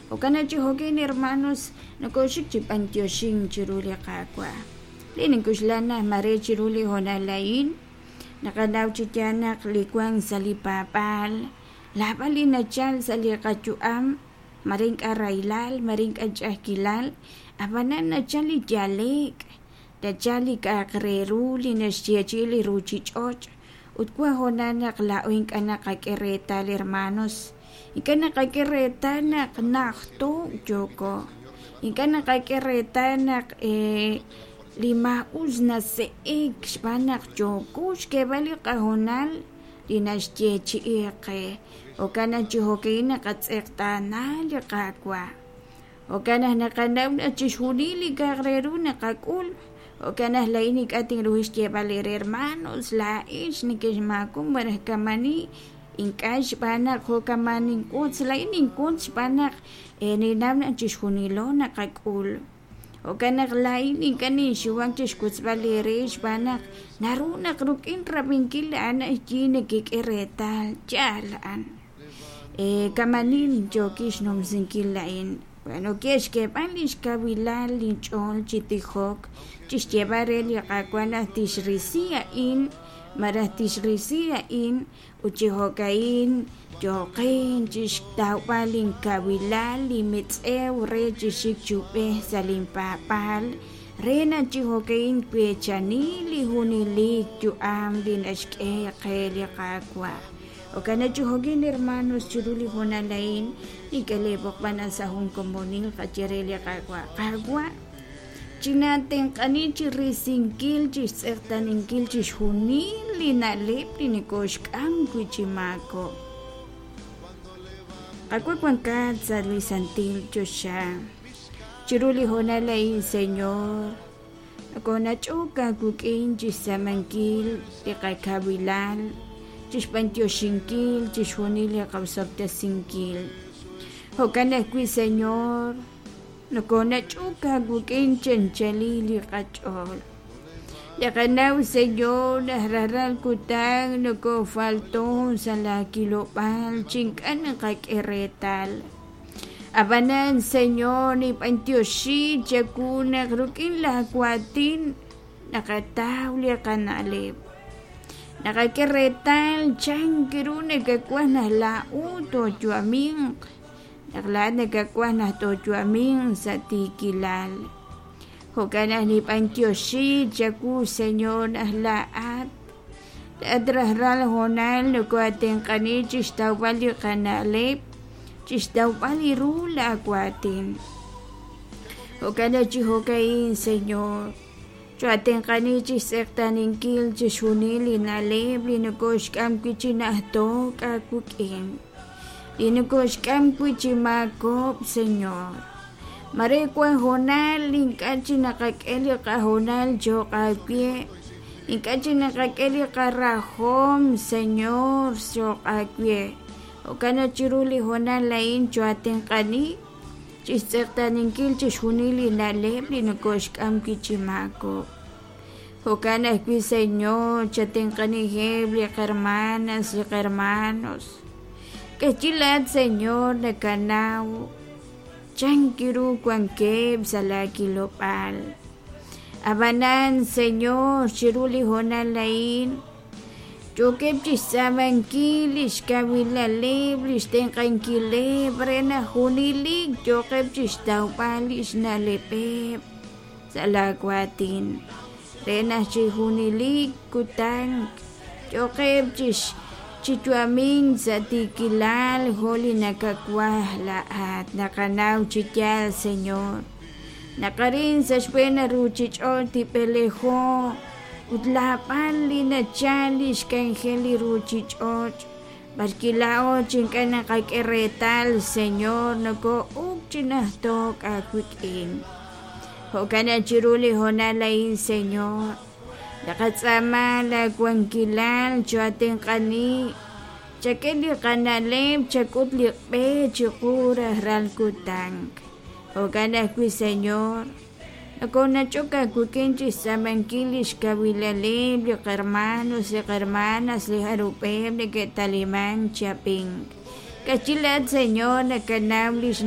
Jo'kan naq chi jo'kin hermanos nokoxik chi b'antioxink chiru li Qaawa'. Li nink'oxla naq mare chiru li hoonal a'in naqanaw chi yaal naq li wank sa' li paab'aal laab'al li nachal sa' li qayu'am mare ink'a' rahilal, mare ink'a' ch'a'ajkilal, ab'anan nachal li yale'k, nachal li k'a'aq re ru li naxyeechi'i li ruchich'och' ut wan hoonal naq laa'o ink'a' naqak'e reetal hermanos, ink'a' naqak'e reetal naq najto' yooko, ink'a' naqak'e reetal naq li maa'us nase'ek xb'aan naq yooko xk'eeb'al li qahoonal li naxyeechi'i qe. Jo'kan naq chi jo'ka'in naqatz'eqtaana li Qaawa'. Jo'kan naq naqanaw naq chixjunil li k'a'aq re ru naqak'ul. Jo'kan naq laa'in ink'a' tinruhi xyeeb'al eere hermanos, laa'ex nekexmaakon malaj kamani ink'a' xb'aan naq jo'kaman ninwotz, laa'in ninwotz xb'aan naq ninnaw naq chixjunilo naqak'ul. Jo'kan naq laa'in ink'a' ninxuwak chi xwotzb'al eere xb'aan naq naru naq rik'in rab'inkil a'an yi nekek'e reetal yaal a'an. Kamanin yookin xnumsinkil a'in. Bueno, ke xk'eeb'al lix kawilal linch'ool chi tijok, chi xyeeb'al re li Qaawa' naq tixrisi a'in malaj tixrisi a'in ut chi jo'ka'in yooqin chi xtawb'al linkawilal, linmetz'ew re chi xik chi ub'ej sa' linpaab'aal re naq chi jo'ka'in tweechani li junelik yu'am li naxk'e qe li Qaawa'. Jo'kan naq chi jo'kin hermanos chiru li hoonal a'in nink'e lee b'oqb'al naq sa' jun komonil qaye re li Qaawa', Qaawa', chinatenq'ani chi risinkil, chi xtz'eqtaaninkil chixjunil li na'leb' li nokoxk'am wi' chi maakob'k. Qaawa' wankat sa' li santil choxa. Chiru li hoonal a'in, Señor, nokonach'ok aawik'in chixtz'aamankil li qakawilal, chixb'antioxinkil chixjunil li qaosob'tesinkil. Jo'kan ajwi', Señor, nokonach'ok aawik'in chi anchalil li qach'ool. Naqanaw, Señor, naq rajlal kutan nokofalton sa' laa kilob'aal chi ink'a' naqak'e reetal. Ab'anan, Señor, ninb'antioxi chawu naq rik'in laa waatin naqataw li qana'leb'. Naqak'e reetal chan ru nakawaj naq laa'o tooyu'aminq, naq laa'at nakawaj naq tooyu'aminq sa' tiikilal. Jo'kan naq ninb'antioxi chawu, Señor, naq laa'at laa'at rajlal hoonal nokoatenq'ani chixtawb'al li qana'leb', chixtawb'al li ru laa waatin. Jo'kan naq chi jo'ka'in, Señor, choatenq'ani chixtz'eqtaaninkil chixjunil li na'leb' li nokoxk'am wi' chi najto'k aawik'in, li nokoxk'am wi' chi maakob'k, Señor. Mare wan hoonal ink'a' chi naqak'e li qahoonal cho'q aawe, ink'a' chi naqak'e li qarajom, Señor, cho'q aawe. Jo'kan naq chiru li hoonal a'in choatenq'ani chixtz'eqtaaninkil chixjunil li na'leb' li nokoxk'am wi' chi maakob'k. Jo'kan ajwi', Señor, chatenq'aniheb' li qahermanas, li qahermanos. K'ehchi laa'at, Señor, nakanaw chan ru wankeb' sa' laa kilob'aal. Ab'anan, Señor, chiru li hoonal a'in yookeb' chixtz'aamankil lix kawilaleb', lix tenq'ankileb' re naq junelik yooqeb' chixtawb'al lix na'leb'eb' sa' laa waatin, re naq chi junelik kutan yooqeb' chi yu'amink sa' tiikilal jo' li nakawaj laa'at. Naqanaw chi yaal, Señor, naq arin sa' xb'een ruchich'och' tib'elejo ut laab'al li nachal lix k'anjel li ruchich'och' b'arwi' laa'o chi ink'a' naqak'e reetal, Señor, noko'ok chi najto'k aawik'in. Jo'kan naq chiru li hoonal a'in, Señor, naqatz'aama laa wankilal choatenq'ani, chak'e li qana'leb', chak'ut li b'e chiqu rajlal kutan. Jo'kan ajwi', Señor, nokonach'ok aawik'in chixtz'aamankil lix kawilaleb' li qahermanos, li qahermanas, li jarub'eb' neke'taliman chi ab'ink. K'achi laa'at, Señor, nakanaw lix.